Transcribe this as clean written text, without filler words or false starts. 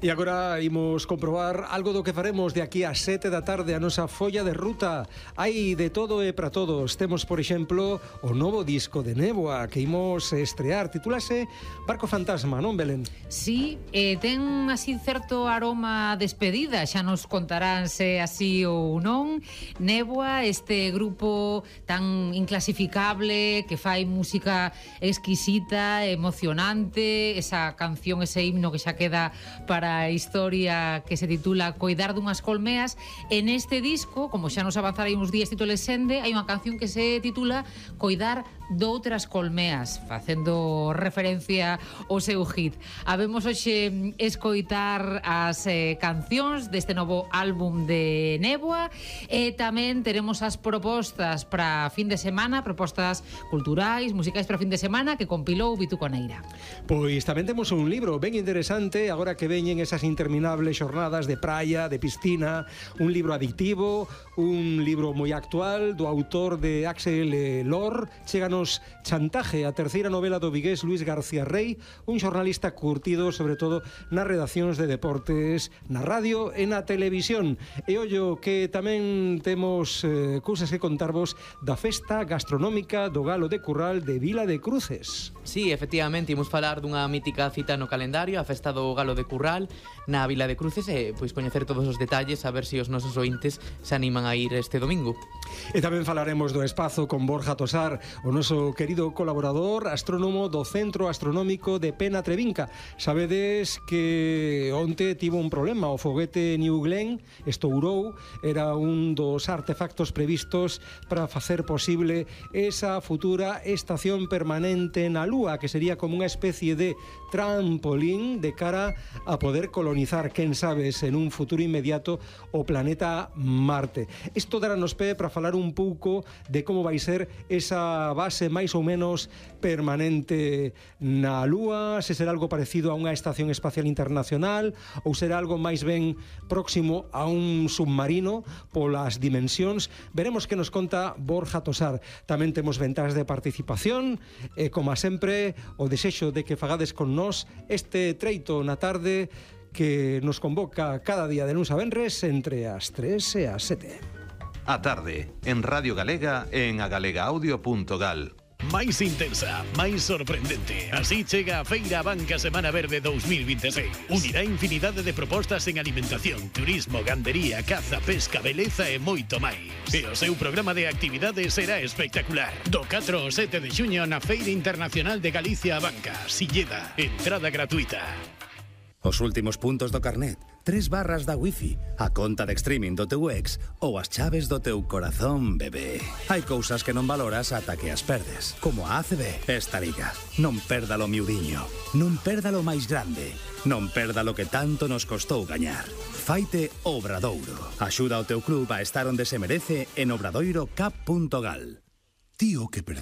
E agora imos comprobar algo do que faremos de aquí a 7 da tarde, a nosa folla de ruta. Hai de todo e para todos. Temos, por exemplo, o novo disco de Néboa que imos estrear. Titúlase Barco Fantasma, non, Belén? Sí, ten así certo aroma despedida. Xa nos contarán se así ou non. Néboa, este grupo tan inclasificable que fai música exquisita, emocionante, esa canción, ese himno que xa queda para a historia, que se titula Coidar dunhas colmeas. En este disco, como xa nos avanzarei uns días Tito Lesende, hai unha canción que se titula Coidar doutras colmeas, facendo referencia ao seu hit. Habemos hoxe escoitar as cancións deste novo álbum de Néboa e tamén teremos as propostas para fin de semana, propostas culturais, musicais para fin de semana que compilou Vitu Coneira. Pois tamén temos un libro ben interesante agora que veñen esas interminables xornadas de praia, de piscina, un libro adictivo, un libro moi actual do autor de Axel Lor. Chéganos Chantaje, a terceira novela do vigués Luis García Rey, un xornalista curtido sobre todo nas redaccións de deportes, na radio e na televisión. E ollo que tamén temos cousas que contarvos da festa gastronómica do Galo de Curral de Vila de Cruces. Sí, efectivamente, imos falar dunha mítica cita no calendario, a festa do Galo de Curral na Vila de Cruces, e pois coñecer todos os detalles, a ver se os nosos ointes se animan a ir este domingo. E tamén falaremos do espazo con Borja Tosar, o noso querido colaborador astrónomo do Centro Astronómico de Pena Trevinca. Sabedes que onte tivo un problema, o foguete New Glenn estourou, era un dos artefactos previstos para facer posible esa futura estación permanente na Lúa, que sería como unha especie de trampolín de cara a poder colonizar, quen sabes, en un futuro inmediato o planeta Marte. Isto darános pé para falar un pouco de como vai ser esa base máis ou menos permanente na Lúa, se será algo parecido a unha estación espacial internacional ou será algo máis ben próximo a un submarino polas dimensións. Veremos que nos conta Borja Tosar. Tamén temos ventajas de participación e, como sempre, o desexo de que fagades con nós este treito na tarde que nos convoca cada día de luns a venres entre as 3 e as 7. A tarde, en Radio Galega e en agalegaudio.gal. Máis intensa, máis sorprendente. Así chega a Feira Banca Semana Verde 2026. Unirá infinidade de propostas en alimentación, turismo, gandería, caza, pesca, beleza e moito máis. E o seu programa de actividades será espectacular. Do 4 ao 7 de xuño na Feira Internacional de Galicia a Banca, Silleda, entrada gratuita. Os últimos puntos do carnet, 3 barras da wifi, a conta de streaming do teu ex ou as chaves do teu corazón, bebé. Hai cousas que non valoras ata que as perdes, como a ACB. Esta liga, non perdalo miudiño, non perdalo máis grande, non perdalo que tanto nos costou gañar. Faite Obradoiro. Axuda ao teu club a estar onde se merece en obradoirocap.gal. Tío que percibe